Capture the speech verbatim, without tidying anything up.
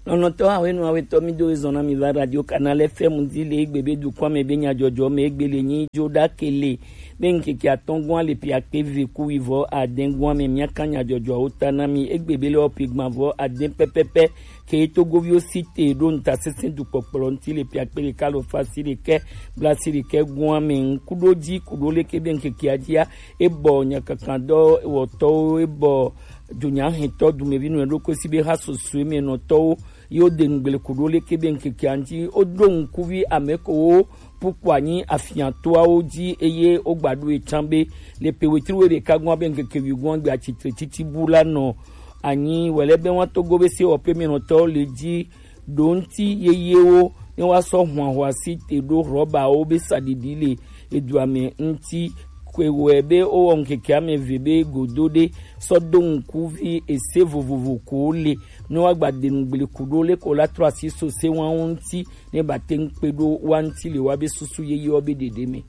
Nɔnɔtɔ awenu awetɔ mi do ezɔn na mi va Radio Canal F M di le egbe be dukɔa me be nyajɔjɔ me egbe le nyi jo ɖa kele be ŋkeke atɔngɔa le piakpe ve ku wivɔ adɛngɔa me miaka nyajɔjɔawo ta na mi egbe be le ɔpe gbavɔ adɛ pɛpɛpɛ ke togoviwo si te ɖo ŋutasesẽ dukpɔkplɔ ŋuti le piakpe ɖeka alo fasi ɖekɛ blasi ɖekɛ gɔa me ŋkuɖo dzi kuɖo leke be ŋkekea dzia ebɔ nyakakadɔ wɔtɔwo ebɔ dunyahɛntɔ dumevi nɔ ɖokui si be ha susue me nɔtɔwo yi wo de nugble kuɖo leke be ŋkekea ŋuti wo ɖo ŋkuvi ame ko wo pukpɔ anyi afiatoawo dzi eye wo gba ɖo etsã be le pe wetri wo ɖeka gɔa be ŋkeke wi gɔa gbe atsitre titi bu la nɔ anyi wɛlɛ be wa togo be se wɔƒe me nɔtɔwo le dzi ɖo ŋuti yeyewo ne wa sɔ hwanhwa si te ɖo rɔbawo be saɖiɖi le edua me ŋuti. Kwe wɔe be wowɔ ŋkeke ame eve be godo ɖe sɔ do ŋkuvi ese vovovo ko le ne woagba de nugble kuɖo le ko la trɔ asi so se wawo ŋuti ne ba te ŋu kpe ɖo wa ŋuti le wa be susu yeyewo be ɖeɖe me.